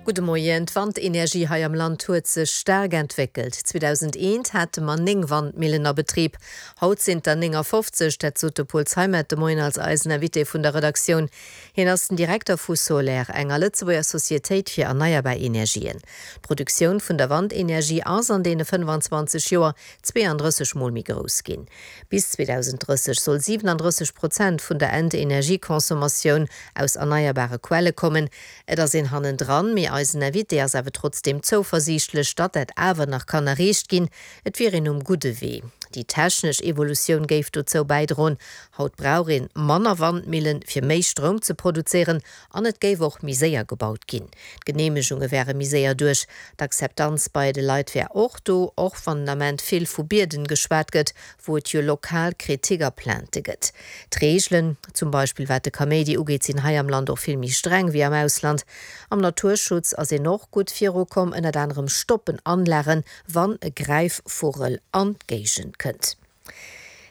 Gudde Moien. D'Wandenergie hei am Land huet sech staark entwéckelt. 2001 hate mer 9 Wandmillen a Betrib, haut sinn et der 59. Dat sot de Paul Zeimet de Moien als eisen Invité vun der Redaktioun. Hien ass den Direkter vu Soler, enger Lëtzebuerger Societéit fir erneierbar Energien. D'Produktioun vun der Wandenergie ass an deene 25 Joer 32 mol méi grouss ginn. Bis 2030 soll 37 Prozent vun der Endenergieconsommatioun aus erneierbare Quelle kommen. Et ass een hannendran, mee eisen Invité ass awer trotzdeem zouversiichtlech, datt dat awer nach kann erreecht ginn. Et wier een um gudde Wee. Déi technesch Evolutioun géif dozou bäidroen. Haut brauch een manner Wandmillen, fir méi Stroum ze produzéieren an et géif och méi séier gebaut ginn. D'Geneemegunge wäre méi séier duerch. D'Akzeptanz bei de Leit wär och do, och wann den Ament vill vu Bierden geschwat gëtt, wou et jo lokal Kritik a Plainte gëtt. D'Reegelen, zum Beispill wat de Kaméidi ugeet, sinn hei am Land och vill méi streng wéi am Ausland. Am Naturschutz ass een och gutt virukomm, ënnert anerem stoppen Anlagen, wann e Gräifvugel an d'Géigend kënnt.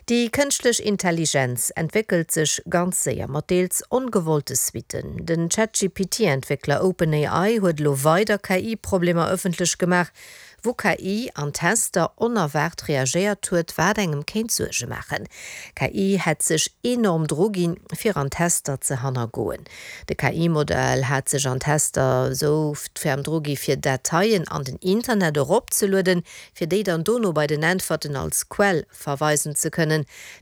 Déi kënschtlech Intelligenz entwéckelt sech ganz séier, mat deels ongewollte Suitten. Den ChatGPT-Entwéckler OpenAI huet elo weider KI-Problemer ëffentlech gemaach, wou KI an Tester onerwaart reagéiert huet, wat engem kéint Suerge maachen. KI hätt sech enorm dru ginn, fir an Tester ze hannergoen. De KI-Modell hat sech an Tester esou ferm dru gi fir Dateien an den Internet eropzelueden, fir déi dann dono bei den Äntwerten als Quell verweisen ze kënnen.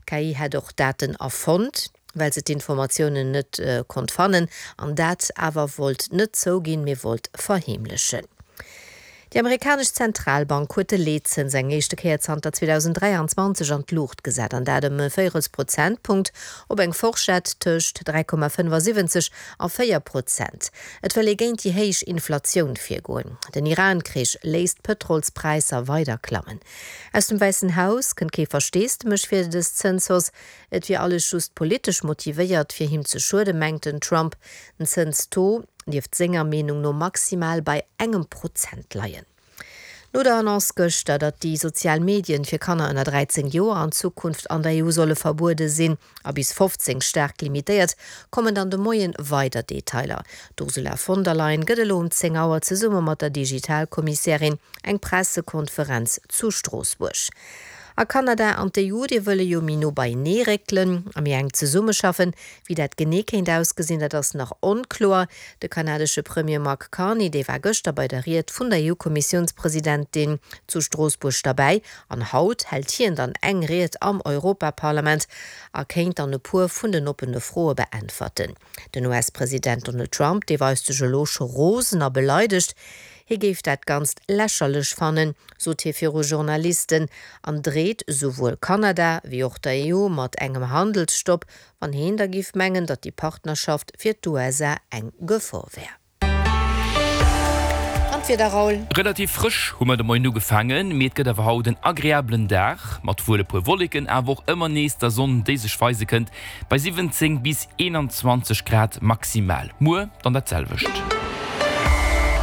D'KI hätt och Daten erfonnt, well se d'Informatiounen net konnt fannen an dat awer wollt net zouginn, mee wollt verheemlechen. Déi amerikanesch Zentralbank huet de Leetzëns eng éischte Kéier zanter 2023 an d'Luucht gesat, an dat ëm e Véirels Prozentpunkt op eng Forschett tëscht 3,75 a 4 Prozent. Et wëll ee géint déi héich Inflatioun virgoen. Den Iran-Krich léisst d'Pëtrolspräisser weider klammen. Aus dem Wäissen Haus kënnt kee Versteesdemech fir dës Zënshausse. Et wier alles just politesch motivéiert, fir him ze schueden, mengt den Trump. Den Zënstaux dierft senger Meenung no maximal bei engem Prozent leien. No der Annonce gëschter, datt déi sozial Medien fir Kanner ënner 13 Joer an Zukunft an der EU solle verbuede sinn a bis 15 staark limitéiert, kommen dann de Moien weider Detailer. D'Ursula von der Leyen gëtt elo um 10 Auer zesumme mat der Digitalkommissärin eng Pressekonferenz zu Stroossbuerg. A Kanada an d'EU, déi wëlle jo méi no beienee réckelen a méi enk zesummeschaffen. Wéi dat genee kéint ausgesinn, dat ass nach onkloer. De kanadesche Premier Mark Carney, dee war gëschter bei der Ried vun der EU-Kommissiounspresidentin zu Stroossbuerg derbäi an haut hält hien dann eng Ried am Europaparlament a kéint dann e puer vun den oppene Froe beäntwerten. Den US-President Donald Trump, dee weist sech elo scho rosen a beleidegt. Hie géif dat Ganzt lächerlech fannen, sot hie viru Journalisten an dreet souwuel Kanada wéi och der EU mat engem Handelsstopp Wann heen da giff mengen, datt déi Partnerschaft fir d'USA eng Gefor wär. An d'Wieder, Raoul? Relativ frësch hu mer de Moien ugefaangen, mee et gëtt awer haut en agreabelen Dag mat wuel e puer Wolleken, awer och ëmmer nees der Sonn, déi sech weise kënnt, bei 17 bis 21 Grad maximal. Muer dann dat selwecht.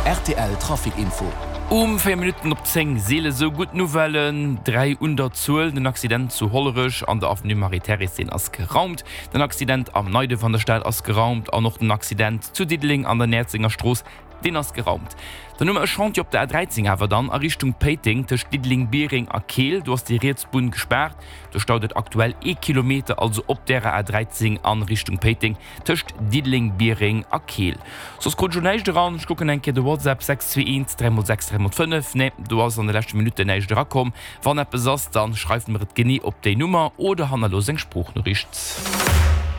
Rtl Trafic Info. Um 4 Minutten op 10 seele sou gutt Nouvellen, 3 un der Zuel. Den Accident zu Hollerech an der Avenue Marie-Thérèse, deen ass geraumt. Den Accident am Neiduerf an der Stad ass geraumt an och den Accident zu Diddeleng an der Näerzenger Strooss, deen ass geraumt. Dann hu mer e Chantier op der A13 awer dann a Richtung Péiteng tëscht Diddeleng-Biereng a Keel. Do ass déi riets Bunn gespaart. Do staut et aktuell ee Kilometer, also op därer A13 a Richtung Péiteng. Tëscht Diddeleng, Biereng a Keel. Soss krut ech lo näischt eran. Ech kucken eng Kéier de WhatsApp, 621 3 x 6 3 x 5. Nee, do ass an de leschte Minutten näischt erakomm. Wann eppes ass, dann schreift mer et genee op déi Nummer oder hannerloosst eng Sproochnoriicht.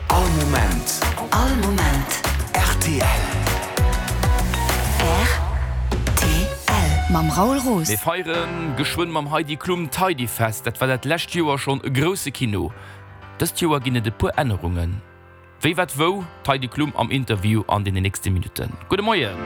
All Moment. All Moment. Rtl. Rtl. Mam Raoul Roos. Mir feiere geschwënn mam Heidi Klum d'Heidifest. Dat war dat lescht Joer schonn e grousse Kino. Dëst Joer ginn et e puer Ännerungen. Wéi, wat, wou? D'Heidi Klum am Interview an deene nächste Minutten. Gudde Moien!